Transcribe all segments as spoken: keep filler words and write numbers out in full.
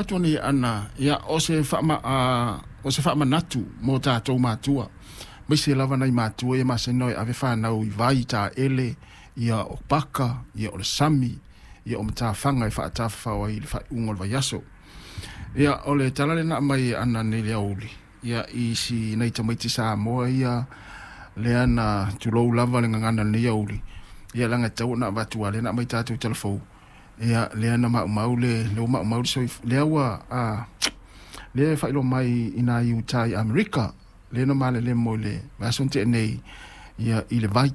Atu nei ana ia o se faama a o se faamanatu mo tatou matua maise lava nai matua ia maseni e ave fanau i vai taele ia o paka ia o le sami ia o matafaga e faatafafao ai i le faaiuga o le vaiaso. Ia o le tala lena aumai e ana nei le aoauli ia i si nai tamaiti Samoa ia lea na tulou lava le gagana i lenei aoauli ia leaga e tatau ona avatu a lea na aumai tatou talafou ia lea na maumau le lea ua maumau le soif lea ua a lea e faailoa mai i nai uta i Amerika lea na malelemo i le vaiaso na tea nei ia i le vai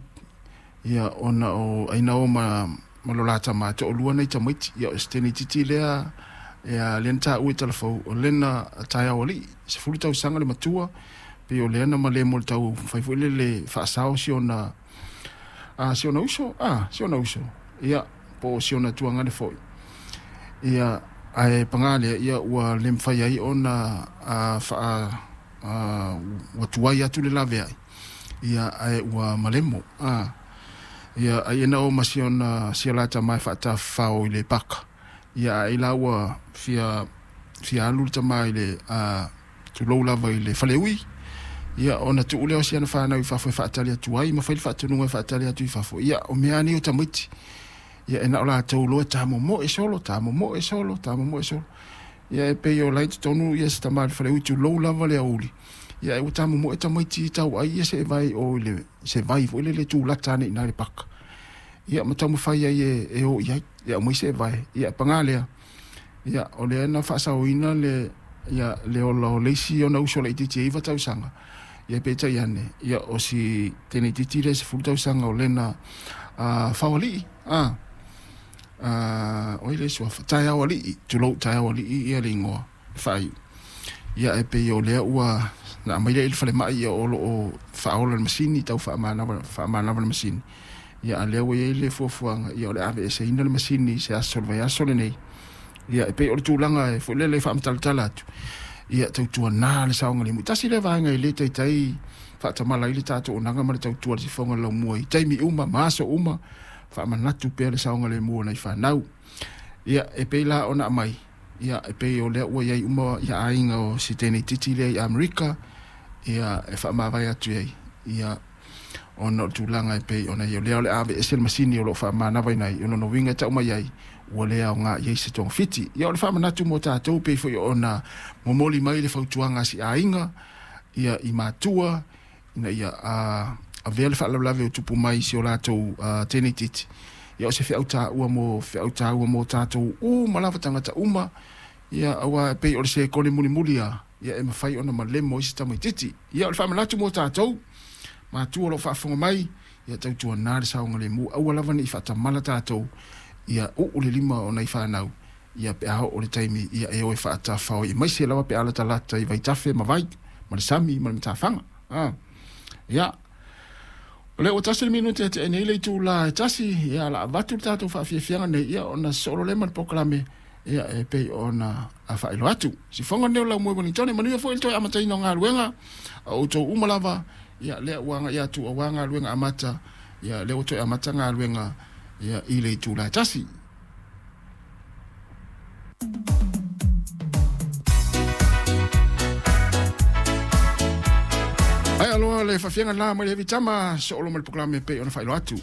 ia ona o aina o ma ma lo lata ma toalua nai tamaiti ia o se teneititi lea ia lea na taua i talafou o lena taeao alii sefulu tausaga le matua pei o lea na malemo i le tau fai foi lele faasao si ona a si ona uso a si ona uso ia po o si ona tuagane foi ia ae paga lea ia ua le mafai ai ona a faa a ua tuai atu le laveai ia ae ua malemo a ia ai ena o ma si ona si o lata mai faatafafao i le paka ia ai la ua fia fia alu le tama i le a tulou lava i le faleui ia ona tuu lea o si ana fanau i fafo e faatali atu ai ma fai le faatonuga e faatali atu i fafo ia o mea nei o tamaiti ia e na o latou loa tamomoe solo tamomoe solo tamomoe solo ia e pei o lai totonu ia se tama i le faleui tulou lava le aoauli ia e ua tamomoe tamaiti tau ai ia se vai o i le se vai foi lele tulata ane i ina i le paka ia ma taumafai ai e, e o i ai ia aumai se vai ia paga lea ia o lea na faasaoina le ia le ola o le isi ona uso laitiiti e iva tausaga ia peitai ane ia o si teneititi lea sefulu tausaga o lena a faoalii a a oi le suafa taeao alii tulou taeao alii ia le igoa e faaiu ia e pei o lea ua na aumai lea i le falemai ia o loo faaola le masini tau faamanava faamanava le masini ia a lea ua iai le fuafuaga ia o le aveeseina le masini i se aso o le vaiaso lenei ia e pei o le tulaga e foi lele faamatalatala atu ia tautuanā le saogalemu. Tasi lea vaega e le taitai faatamala ai le tatou onaga ma le tautua i le sifoga o le laumua i taimi uma ma aso uma faamanatu pea le saogalemu o nai fanau. Ia e pei la ona aumai ia e pei o lea ua iai uma ia aiga o si teneititi lea i Amerika ia e faamavae atu ai ia ona o le tulaga e pei ona i o lea o le aveese le masini o loo faamanavaina ai o lona uiga e tau mai ai ua le aoga i ai se togafiti. Ia o le faamanatu mo tatou pei foi ona momoli mai le fautuaga a si aiga ia i matua ina ia a avea le faalavelave o tupu mai i si o latou teneititi ia o se feau taua mo feau taua mo tatou uma lava tagata uma ia aua e pei o le sekone mulimuli a ia e mafai ona malemo ai se tamaititi. Ia o le faamanatu mo tatou matua o loo faafofoga mai ia tautuanā le saogalemu aua lava nei faatamala tatou ia uu le lima o nai fanau ia pe a oo le taimi ia e o e faatafafao ai aemaise lava pe a latalata i vaitafe ma vai ma le sami ma le matafaga a ia o lea ua tasi le minute e tea nei le itula e tasi ia la avatu le tatou faafiafiaga nei ia ona sosolo lea ma le polokalame ia e pei ona faailoa atu. Sifoga lenei o Laumua i Wellington manuia foi le toe amataina o galuega a outou uma lava ia lea ua agai atu aua galuega amata ia lea ua toe amata galuega ia i le itula e tasi. Ae aloa le faafiaga la mai le heavy tama soolo ma le polokalame e pei ona faailoa atu.